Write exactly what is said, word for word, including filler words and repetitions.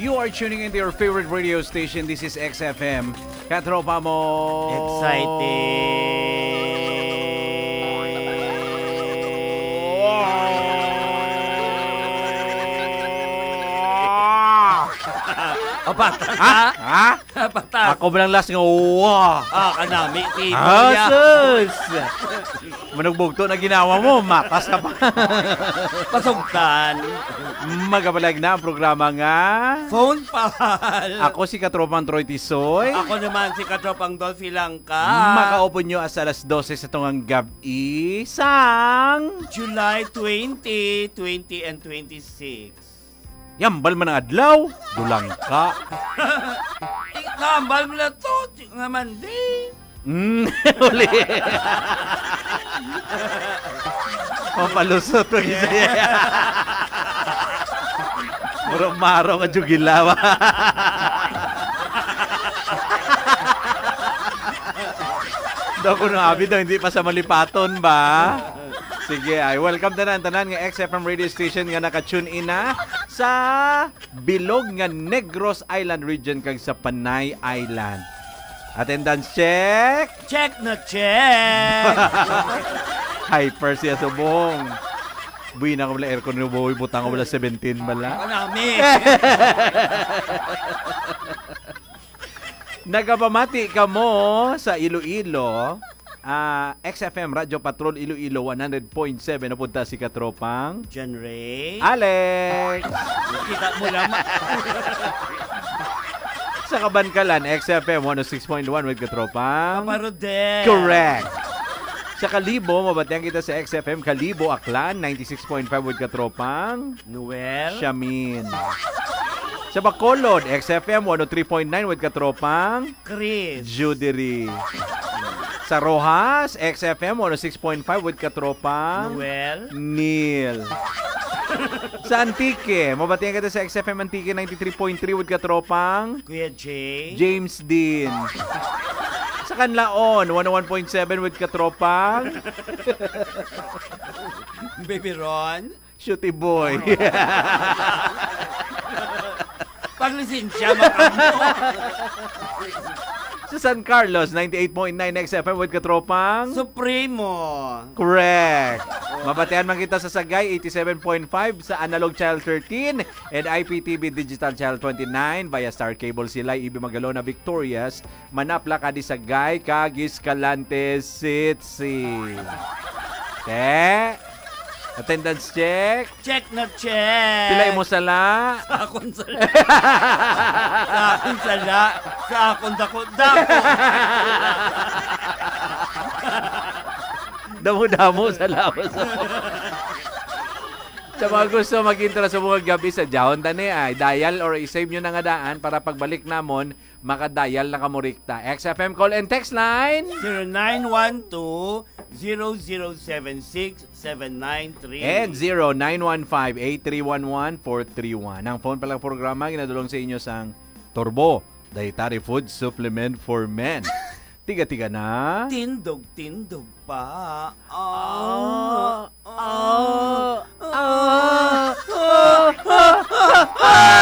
You are tuning into your favorite radio station. This is X F M. Katropa mo. Exciting. Apat. Ha? Ha? Patas. Ako ba lang last nga, "Wah!" Ah, kanami, si Ah, Kuya. Sus! Manugbugto na ginawa mo, matas ka pa. Pasugtan. Magabalag na ang programa nga Phone Pal. Ako si Katropang Troy Tisoy. Ako naman si Katropang Dolphy Langka. Makaupod nyo sa alas dose sa tungang gab-i sang July twenty, twenty and twenty-six. Yambal man ang adlaw, dulang ka. Ikambal mo na to, nga Monday. Mm, uli. Mapalusot pag isa. Murag maro nga jugilaw. Daw ko nang abid ang hindi pa sa malipaton ba? Sige, ay welcome tanan, tanan nga X F M radio station nga naka-tune in na sa bilog nga Negros Island region kag sa Panay Island. Attendance check! Check na check! Hyper siya subong. Buwi na ko wala aircon ni Boy, butang ko wala seventeen bala. Ako nami. Nagapamati kamo sa Iloilo. Ah, X F M Radyo Patrol Iloilo one hundred point seven na punta si Katropang John Ray. Alex. Kita mo lang. Sa Kabankalan, X F M one oh six point one with Katropang Papa Rodel. Correct. Sa Kalibo, mabatian kita sa X F M Kalibo, Aklan, ninety-six point five with Katropang Noel. Shamin. Sa Bacolod, X F M one oh three point nine with Katropang Chris. Judery. Sa Roxas, X F M one oh six point five with Katropang Noel. Neil. Sa Antique, mabatian kita sa X F M Antique ninety-three point three with Katropang Kuya Jay. James Dean. Sa Canlaon, one oh one point seven with Katropang Baby Ron. Shooty boy. Paglisensya, makamo. Sa San Carlos, ninety-eight point nine X F M with Katropang Supremo. Correct. Mabatian man kita sa Sagay, eighty-seven point five, sa Analog Channel thirteen and I P T V Digital Channel twenty-nine, via Star Cable, Silay, Ibi Magalona, Victorias, Manapla, Cadiz, Sagay, kag Escalante City. Te? Attendance check? Check na check! Pila imo sala? Sa akon sala. Sa akon sala. Sa akon dako-dako. Damo-damo, salamat sa sa mga gusto mag-intro sa mga gabi sa Jahon Tani ay dial or i-save nyo na nga daan para pagbalik namon, makadial na kamo rikta. X F M call and text line. Zero nine one two, zero zero seven six, seven nine three. And zero nine one five, eight three one one, four three one. Ang phone palang programa, ginadulong sa inyo sang Turbo, Dietary Food Supplement for Men. Tiga-tiga na. Tindog-tindog pa. Ah, ah, ah, ah, ah, ah.